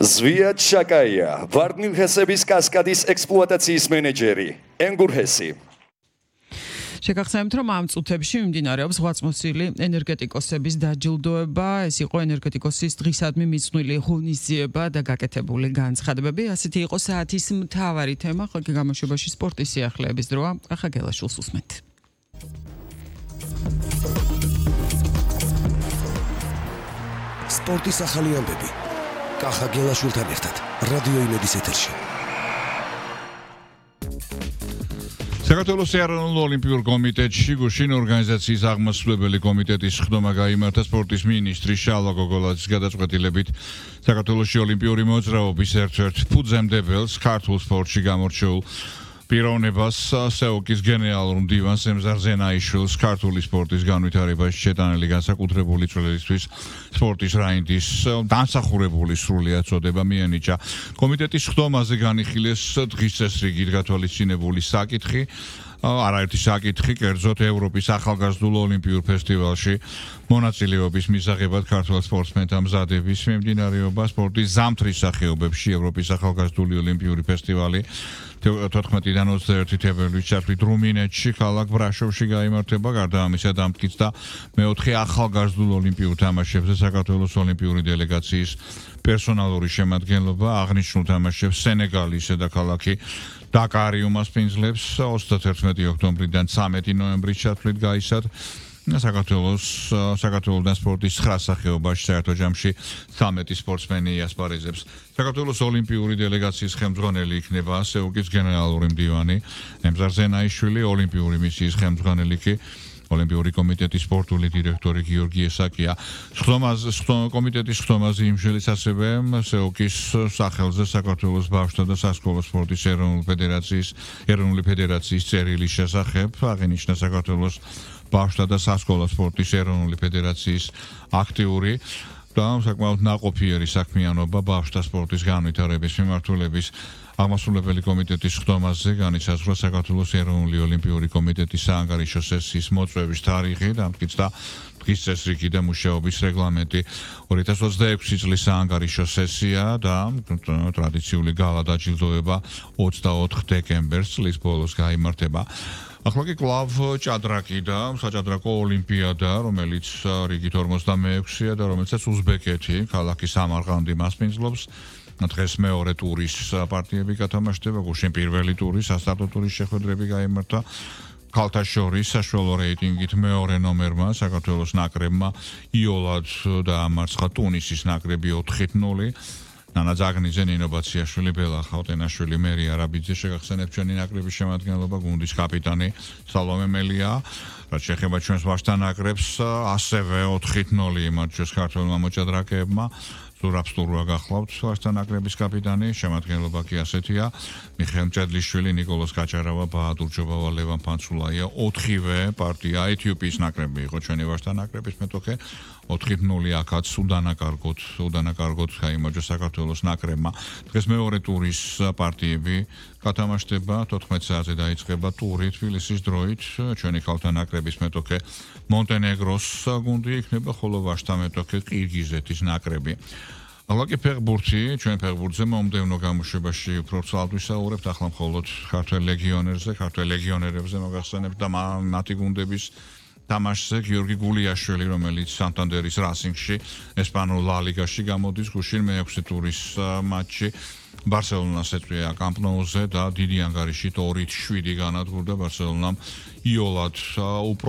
ზვიად შაკაია, ვარდნილჰესების კასკადის ექსპლუატაციის მენეჯერი, ენგურჰესი. შეგახსენებთ, რომ ამ წუთებში მიმდინარეობს ღვაწლმოსილი ენერგეტიკოსების დაჯილდოება. ეს იყო ენერგეტიკოსის დღისადმი მიძღვნილი ღონისძიება და გაკეთებული განცხადებები. ასეთი იყო საათის მთავარი თემა. ხოლმე გამოშვებაში სპორტის სიახლეების დროა. კახა გელაშვილს უსმენთ. სპორტის ახალი ამბები. კახა გელაშვილთან ერთად რადიო იმედის ეთერში. საქართველოს ეროვნულ ოლიმპიურ კომიტეტში გუშინ ორგანიზაციის აღმასრულებელი კომიტეტის ხდომა გაიმართა სპორტის მინისტრის შალვა გოგოლაძის გადაწყვეტილებით. საქართველოში ოლიმპიური მოძრაობის ერთ-ერთ ფუძემდებელს ქართულ სპორტში გამორჩეულ პიროვნებას სეოკის გენერალურ მდივანს ემზარ ზენაიშვილს ქართული სპორტის განვითარებაში შეტანილი განსაკუთრებული წვლილისთვის სპორტის რაინდის დამსახურებული სრულიად წოდება მიენიჭა. კომიტეტის ხდომაზე განიხილეს დღის წესრიგით გათვალისწინებული საკითხი, არაერთი საკითხი, კერძოდ ევროპის ახალგაზრდულ ოლიმპიურ ფესტივალში მონაწილეობის მისაღებად ქართველ სპორტსმენთა მზადების მიმდინარეობა, სპორტის ზამთრის სახეობებში ევროპის ახალგაზრდული ოლიმპიური ფესტივალი 14-დან 21 თებერვლის ჩათვლით რუმინეთში, ქალაქ ბრაშოვში გაიმართება. გარდა ამისა დამტკიცდა მეოთხე ახალგაზრდულ ოლიმპიურ თამაშებზე საქართველოს ოლიმპიური დელეგაციის პერსონალური შემადგენლობა. აღნიშნულ თამაშებს სენეგალის დედაქალაქი დაკარი უმასპინძლებს 31 ოქტომბრიდან 13 ნოემბრის ჩათვლით გაისად. საქართველოსთან სპორტის 9 სახეობაში საერთო ჯამში 13 სპორტსმენი იასპარეზებს. საქართველოს ოლიმპიური დელეგაციის ხელმძღვანელი იქნება სეუკის გენერალური მდივანი ემზარ ზენაიშვილი, ოლიმპიური მისიის ხელმძღვანელი კი ოლიმპიური კომიტეტის სპორტული დირექტორი გიორგი ესაკია. კომიტეტის ხდომაზე იმშელის ასევე სეუკის სახელზე საქართველოს ბავშვთა და სასკოლო სპორტის ეროვნული ფედერაციის წერილის შესახებ აღინიშნა საქართველოს ბავშვთა და სასკოლო სპორტის ეროვნული ფედერაციის აქტიური და საკმაოდ ნაყოფიერი საქმიანობა ბავშვთა სპორტის განვითარების მიმართულების აღმასრულებელი კომიტეტის ხდომაზე განისაზღვრა საქართველოს ეროვნული ოლიმპიური კომიტეტის საანგარიშო სესიის მოწვევის თარიღი, დამტკიცდა დღის წესრიგი და მუშაობის რეგლამენტი. 2026 წლის საანგარიშო სესია და ტრადიციული გალა დაჯილდოება 24 დეკემბერს წლის ბოლოს გაიმართება. ახლა კი კლავ ჭადრაკი და საჭადრაკო ოლიმპიადა, რომელიც რიგით 46-ია და რომელსაც უზბეკეთი, ქალაქი სამარყანდი მასპინძლობს. დღეს მეორე ტურის პარტიები გათამაშდება, გუშინ პირველი ტურის სასტარტო ტურის შეხვედრები გაიმართა. ქალთა შორის საშუალო რეიტინგით მეორე ნომერმა საქართველოს ნაკრებმა იოლად დაამარცხა ტუნისის ნაკრები 4-0. ნანა ზაგნიძე, ნინო ბაციაშვილი, ბელა ხავტენაშვილი, მერი არაბიძე შეგახსენებთ ჩვენი ნაკრების შემადგენლობა, გუნდის კაპიტანი სალომე მელია. რაც შეეხება ჩვენს ვაჟთა ნაკრებს, ასევე 4-0 იმარჯვეს ქართველმა მოჭადრაკეებმა. ზურაბ სტურვა გახლავთ ვაჟთა ნაკრების კაპიტანი, შემადგენლობა კი ასეთია: მიხეილ მჭედლიშვილი, ნიკოლოზ კაჭარავა, ბაჰადურ ჯობავა, ლევან ფანცულაია. 4-ვე პარტია ეთიოპიის ნაკრები იყო ჩვენი ვაჟთა ნაკრების მეტოქე. 4-0 აქაც უდანაკარგოთ გაიმარჯვა საქართველოს ნაკრებმა. დღეს მეორე ტურის პარტიები გათამაშდება, 14 საათზე დაიწყება ტური თბილისის დროით. ჩვენი ქალთა ნაკრების მეტოქე მონტენეგროს გუნდი იქნება, ხოლო ვაჟთა მეტოქე ყირგიზეთის ნაკრები. ალაკი ფეხბურთი, ჩვენ ფეხბურთზე მომდევნო გამოშვებაში უფრო ცალად ვისაუბრებთ, ახლა მხოლოდ ქართველ ლეგიონერებზე მოგახსენებთ და მათი გუნდების თამაშზე. გიორგი გულიაშვილი, რომელიც სანტანდერის რასინგში ესპანურ ლა ლიგაში გამოდის, გუშინ მე-6 ტურის მატჩი ბარსელონას ეტყვია კამპ ნოუზე და დიდი ანგარიშით 2-7 განადგურდა ბარსელონამ იოლად უფრო